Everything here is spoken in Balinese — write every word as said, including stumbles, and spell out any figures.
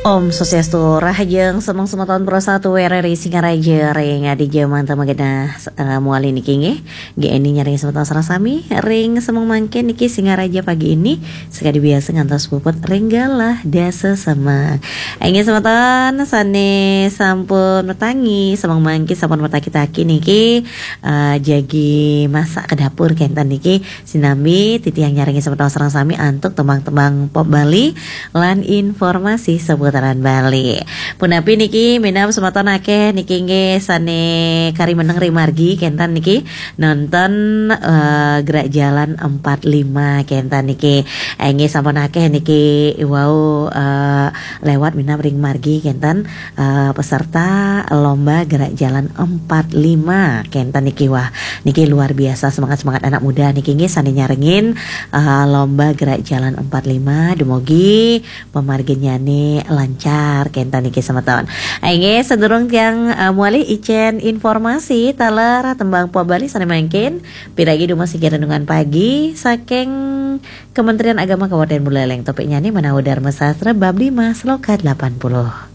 Om Swastiastu, rahajeng semeng semeton Pro satu R R I Singaraja ring adi jaman tamagenah, eh, muali niki nggih. Nggih, eni nyaring semeton sareng sami ring semeng mangkin niki Singaraja pagi ini, sakadi biasa ngantos puput ring galah dasa semeng. Inggih semeton sane sampun matangi, semeng mangkin sampun mataki-taki niki, eh, jagi masak ke dapur kenten niki. Sinambi titiang nyarengi semeton sareng sami antuk tembang-tembang pop Bali lan informasi seputaran Bali. Punapi niki, minab semeton akeh niki nggih sane kari meneng ring margi kenten niki nonton, eh, Gerak Jalan empat lima kenten niki. Eh, nggih sampun akeh niki wau, eh, lewat minab ring margi kenten, eh, peserta lomba Gerak Jalan empat lima kenten niki. Wah, niki luar biasa semangat-semangat anak muda niki nggih sane nyarengin, eh, lomba Gerak Jalan empat lima, dumugi pamarginyane lancar kenten niki semeton. Inggih, sadurung tiang, eh, muali icen informasi taler tembang pop Bali sane mangkin, piragi dumasiki renungan pagi saking Kementerian Agama Kabupaten Buleleng, topiknyane menawi Dharma Sastra bab lima sloka delapan puluh.